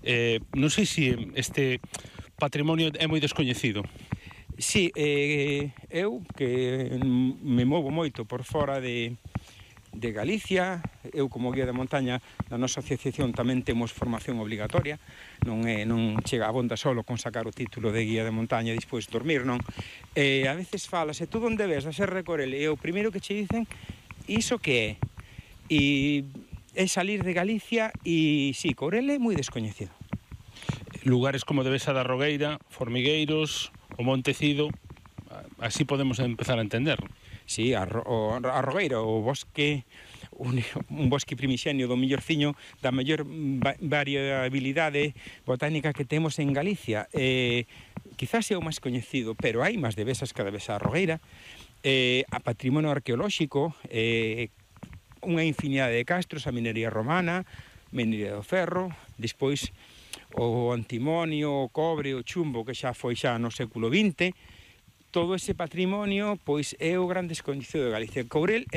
Non sei se este patrimonio é moi descoñecido. Sí, eu que me movo moito por fora de Galicia, eu como guía de montaña na nosa asociación tamén temos formación obligatoria, non chega a bonda solo con sacar o título de guía de montaña e despois dormir, non? A veces falase, tú onde ves a Serra de Corel, e o primeiro que che dicen, iso que é? E é salir de Galicia e, sí, Corel é moi descoñecido. Lugares como Devesa da Rogueira, Formigueiros, o Montecido, así podemos empezar a entender. Sí, a Rogueira, o bosque, un bosque primixenio do millorciño, da maior variabilidade botánica que temos en Galicia. Quizás é o máis coñecido, pero hai máis devesas que a Devesa da Rogueira. A patrimonio arqueolóxico, unha infinidade de castros, a minería romana, minería do ferro, despois o antimonio, o cobre, o chumbo, que xa foi xa no século XX. Todo ese patrimonio, pois, é o gran descoñecido de Galicia. Courel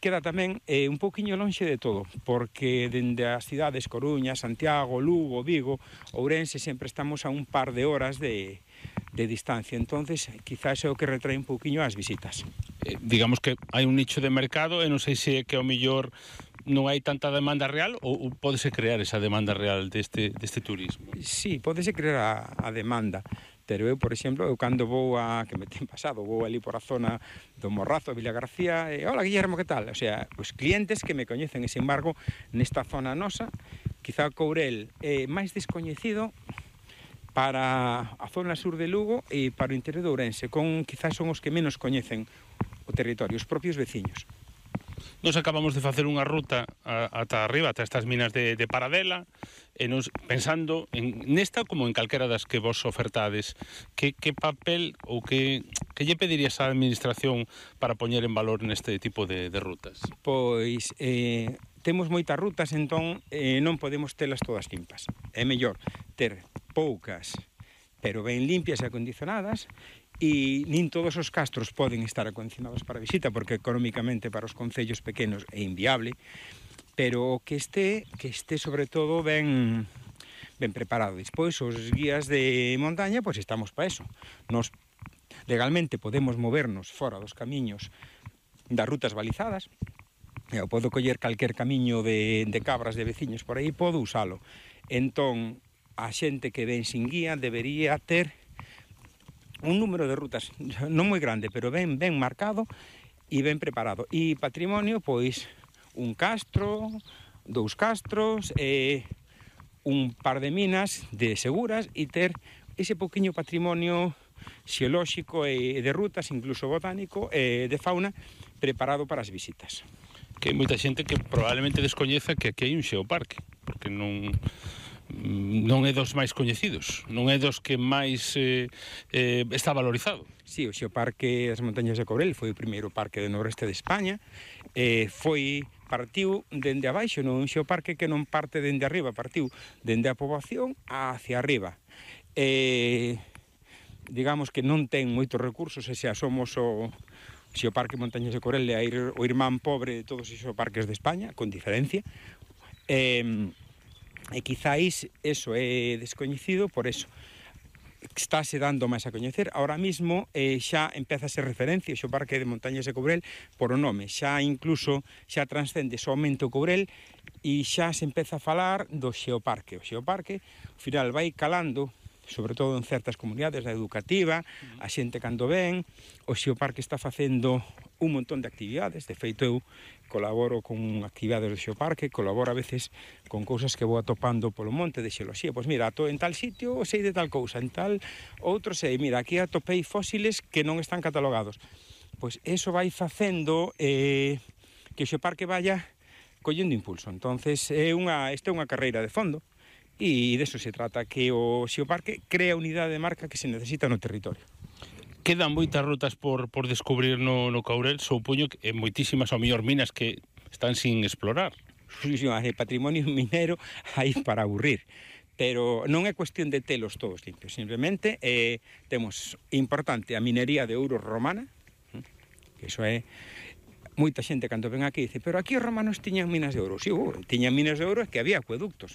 queda tamén un pouquiño lonxe de todo, porque dende as cidades Coruña, Santiago, Lugo, Vigo, Ourense, sempre estamos a un par de horas de distancia. Entonces, quizás é o que retrae un pouquiño as visitas. Digamos que hai un nicho de mercado e non sei se é que ao mellor non hai tanta demanda real ou pódese crear esa demanda real deste turismo? Sí, pódese crear a demanda. Pero eu, por exemplo, cando vou que me ten pasado, vou ali por a zona do Morrazo, Villa García, hola Guillermo, que tal? O sea, os clientes que me coñecen, e, sin embargo, nesta zona nosa, quizá Courel é máis descoñecido para a zona sur de Lugo e para o interior de Ourense, quizás son os que menos coñecen o territorio, os propios veciños. Nos acabamos de facer unha ruta ata arriba, ata estas minas de Paradela, e nos pensando nesta como en calquera das que vos ofertades, que papel ou que lle pedirías á administración para poñer en valor neste tipo de rutas? Pois temos moitas rutas, entón non podemos telas todas limpas. É mellor ter poucas, pero ben limpias e acondicionadas, e nin todos os castros poden estar acondicionados para visita, porque económicamente para os concellos pequenos é inviable, pero que este sobre todo ben preparado. Despois, os guías de montaña, pois estamos para eso. Nos legalmente podemos movernos fora dos camiños das rutas balizadas. Eu podo coller calquer camiño de cabras de veciños por aí, podo usalo. Entón, a xente que ven sin guía debería ter un número de rutas non moi grande, pero ben marcado e ben preparado. E patrimonio, pois, un castro, 2 castros, un par de minas de seguras e ter ese pouquiño patrimonio xeolóxico e de rutas, incluso botánico, e de fauna, preparado para as visitas. Que hai moita xente que probablemente descoñeza que aquí hai un xeoparque, porque non é dos máis coñecidos, non é dos que máis está valorizado. Sí, o Xeoparque das Montañas de Courel foi o primeiro parque do noroeste de España, partiu dende abaixo, non un xeoparque que non parte dende arriba, partiu dende a poboación hacia arriba. Digamos que non ten moitos recursos, e xa somos o Xeoparque Montañas de Courel é o irmán pobre de todos os xeoparques de España, con diferencia. E quizáis eso é descoñecido por eso. Estáse dando máis a coñecer. Ahora mismo xa empeza a ser referencia o Xeoparque de Montañas de Courel por o nome. Xa incluso xa transcende somente o Courel e xa se empeza a falar do Xeoparque. O Xeoparque, ao final, vai calando, sobre todo en certas comunidades, da educativa, a xente cando ven, o Xeoparque está facendo un montón de actividades. De feito, eu colaboro con actividades do Xeoparque, colaboro a veces con cousas que vou atopando polo monte de xeoloxía. Pois mira, en tal sitio sei de tal cousa, en tal outro sei, mira, aquí atopei fósiles que non están catalogados. Pois eso vai facendo que o Xeoparque vaya collendo impulso. Entonces, esta é unha carreira de fondo, e deso se trata, que o Xeoparque crea unidade de marca que se necesita no territorio. Quedan moitas rutas por descubrir no Courel, supoño que moitísimas ao mellor minas que están sin explorar. Sí, patrimonio minero hai para aburrir, pero non é cuestión de telos todos limpios, simplemente temos importante a minería de ouro romana, que iso é moita xente cando ven aquí dice, pero aquí os romanos tiñan minas de ouro. Si, tiñan minas de ouro, é que había acueductos.